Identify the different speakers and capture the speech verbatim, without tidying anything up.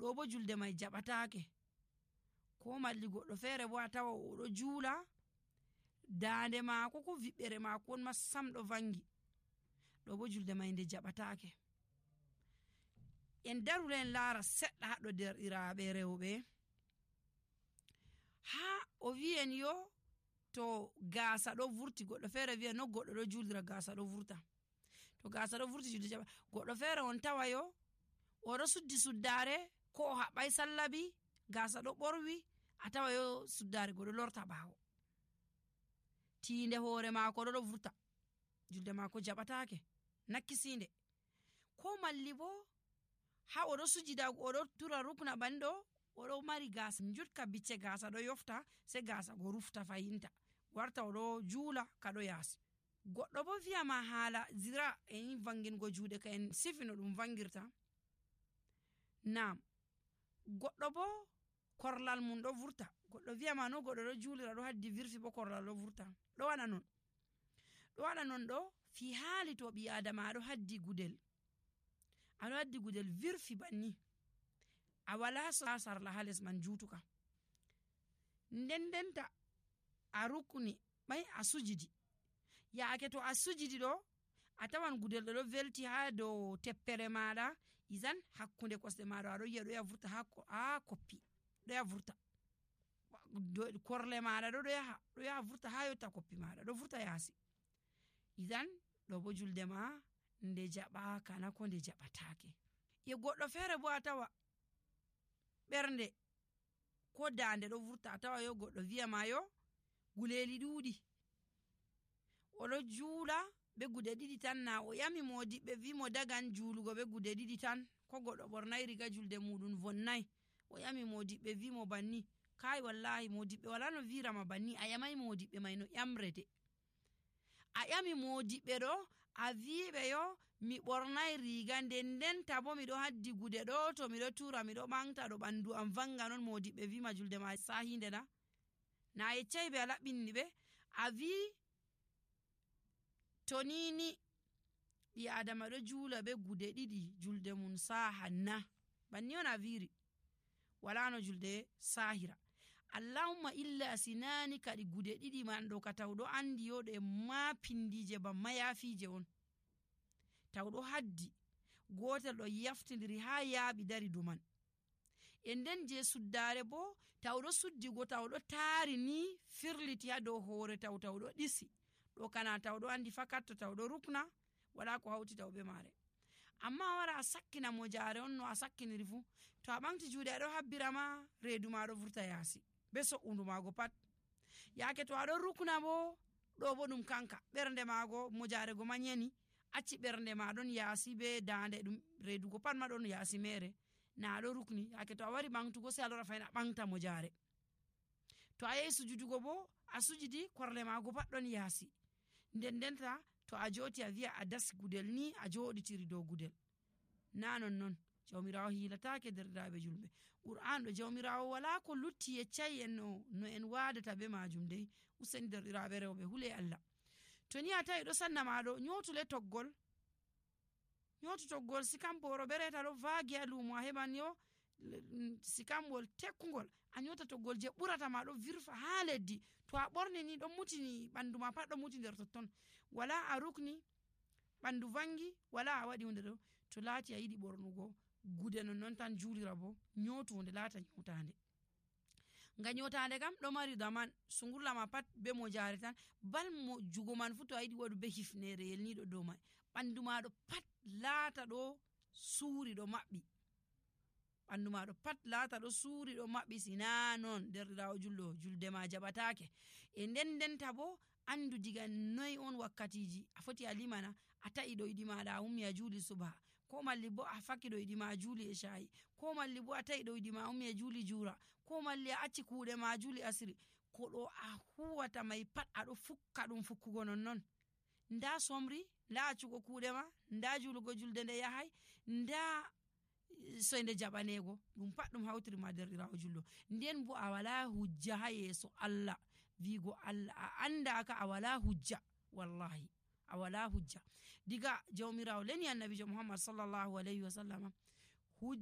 Speaker 1: ɗo bo julde mai jaɓataake. Ko malli goɗɗo feere bo a tawa oɗo juula daande maako ko viɓɓere maako on ma sam ɗo vangi, ɗo bo julde mai nde jaɓataake. En darule en laara seɗɗa haɗɗo derɗiraaɓe rewɓe. Ha o wi'en yo to gaasa ɗo vurti, goɗɗo feere wi'a no goɗɗo ɗo juulira gaasa ɗo vurta. To gaasa ɗo vurti julde jaɓa. Goɗɗo feere on tawa yo oɗo suddi suddaare ko o haɓɓay sallabi, gaasa ɗo ɓorwi, a tawa yo suddaare goɗɗo lorta ɓaawo, tiinde hoore maako ɗo ɗo vurta, julde maako jaɓataake, nakkisinde. Ko malli bo ha oɗo sujida oɗo tura rukna banɗo, oɗo mari gaasa jutka bicce gaasa ɗo yofta, sai gaasa go rufta fayinta, warta oɗo juula kaɗo yaasi. Goɗɗo bo wiyama haala zira en vangingo juuɗe ka en sifi no ɗum vangirta. Naam, goɗɗo bo korlal mum ɗo vurta, goɗɗo wiyama no goɗɗo ɗo juulira ɗo haddi virfi bo korlal ɗo vurta. Ɗo waɗa non ɗo waɗa non ɗo fi haali to ɓi adama aɗo haddi gudel, aɗo haddi gudel virfi banni, a wala sarla ha les man juutuka, nden denta a rukni ɓay a sujidi, yaake to a sujidi ɗo a tawan gudel ɗo ɗo velti ha dow teppere maɗa, izan hakkunde kosɗe maɗa aɗo yi'a ɗo ya vurta ha koppi, ɗo ya vurta korle maɗa ɗo ɗo yaha ɗo yaha vurta ha yotta koppi maɗa, ɗo vurta yaasi. Izan ɗo bo julde ma nde jaɓaka na ko nde jaɓataake. Ye goɗɗo feere bo a tawa ɓernde ko dande ɗo vurta, a tawa yo goɗɗo wiyama yo guleli ɗuuɗi, oɗo juula be gude ɗiɗi tan, na o yami modiɓɓe wimo dagan juulugo be gude ɗiɗi tan, ko goɗɗo ɓornay riga julde muɗum vonnay, o yami modiɓɓe wimo banni, kai wallahi modiɓɓe wala no wirama banni, a yamai modiɓɓe mai no ƴamrete. A yami modiɓɓe ɗo a wiɓe yo mi ɓornay riga, nden denta bo miɗo haddi gude ɗo, to miɗo tura miɗo ɓangta ɗo ɓandu am vanga non, modiɓɓe wima julde ma sahinde na na yeccai ɓe a laɓɓini ɓe, a wi to nini ɓi adama ɗo juula be gude ɗiɗi julde mum sahan na, banni on a wiri, wala no julde sahira. Allahumma illa sinani kadi gude ɗiɗi man ɗo ka tawɗo andi yo ɗe ma pindije ban mayafije on, tawɗo haddi gotel ɗo yaftidiri ha yaaɓi dari duman, e nden je suddare bo tawɗo suddigo tawɗo taari ni firliti ha dow hoore taw tawɗo ɗisi, ɗo kana tawɗo andi fakat to tawɗo rukna wala ko hawti taw be mare. Amma wara a sakkina mo jare on no a sakkiniri fu, to a ɓamti juuɗe aɗo habbirama reedu ma ɗo vurta yaasi be so'undu maago pat. Yaake to aɗo rukna bo ɗo bo ɗum kanka ɓernde maago mo jarego ma nyeni, acci ɓernde ma ɗon yaasi be dande ɗum reedugo pat ma ɗon yaasi mere, na aɗo rukni. Yaake to a wari ɓamtugo sai a lora fayna ɓamta mo jare, to a yehi sujudugo bo a sujidi korle maago pat ɗon yaasi, nden denta to a joti a wi'a a dasi gudel ni a joɗitiri dow gudel, na non non. Jawmirawo hilatake derɗiraɓe julɓe. Qur'an ɗo jawmirawo wala ko lutti yeccai en no, no en wadata be majum dai. Useni derɗiraɓe rewɓe hule Allah, to ni a tawi ɗo sanna maɗo nyotule toggol, nyotu toggol sikamporo bereta ɗo vaagi ha lumo, a heɓan yo sikambol tekkugol, a nyota toggol je ɓurata ma ɗo virfa ha leddi, to a ɓorni ni ɗon mutini ɓandu ma pat ɗon muti nder totton, wala a rukni ɓandu vangi, wala a waɗi hunde ɗo. To laati a yiɗi ɓornugo gude non non tan juulira bo nyotu hunde laata nyotande, nga nyotande kam ɗo mari daman, sungurla ma pat be mo jare tan, bal mo jugo man fu to a yiɗi waɗu be hifnere yelniɗo dow mai, ɓandu maɗo pat laata ɗo suuri ɗo maɓɓi, ɓandu maɗo pat laata ɗo suuri ɗo maɓɓi, sina non derɗirawo julɗo julde ma jaɓatake. E nden denta bo andu diga noy on wakkatiji a foti a limana, a ta'i ɗo yiɗi maɗa a ummi a juuli subha, ko malli bo a fakki ɗo yiɗi ma a juuli e shayi, ko malli bo a ta'i ɗo yiɗi ma a ummi a juuli jura, ko malli a acci kuuɗe ma a juuli asiri, ko ɗo a huwata mai pat aɗo fukka ɗum fukkugo non non, nda somri, nda accugo kuuɗe ma, nda juulugo julde nde yahay, nda soyde jaɓanego, ɗum pat ɗum hawtiri ma derɗirawo julɗo. Nden bo a wala hujja ha yeeso Allah wigo Allah a andaka, a wala hujja, wallahi a wala hujja. Diga jawmirawo leni annabijo Muhammad sallallahu alayhi wa sallam